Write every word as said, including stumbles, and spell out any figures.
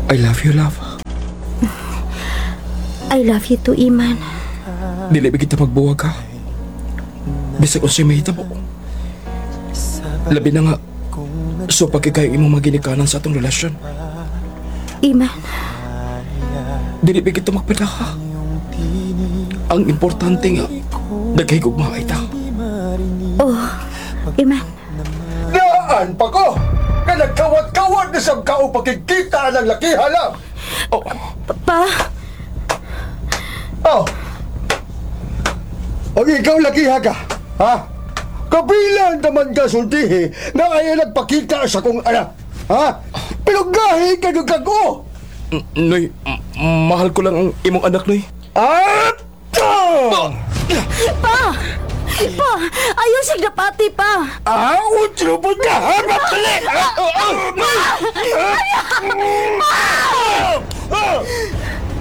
I love you, love. I love you too, Iman. Dili ba kita magbuwag ha? Bisag unsay mahitabo. Labi na nga, so pagkikay imong maginikanan sa atong relasyon. Iman, Dili ba kita magpadaha? Ang importante nga, nagkahigugmaay ta. oh, Iman. Naan pa ko! Nga nagkawat-kawat na sab kao pakikita ng lakiha lang! Oh, Pa, Oh! O ikaw lakiha ka, ha? Kabilang naman ka sultihi na ayaw nagpakita sa kong anak, ha? Pero gahi ka nung kago! n- Noy, m- mahal ko lang ang imong anak, Noy. At! pa! Pa! Ayaw siya dapati, pa! Ah, utro po ka! Ha? Matali! Ah, ah, ah,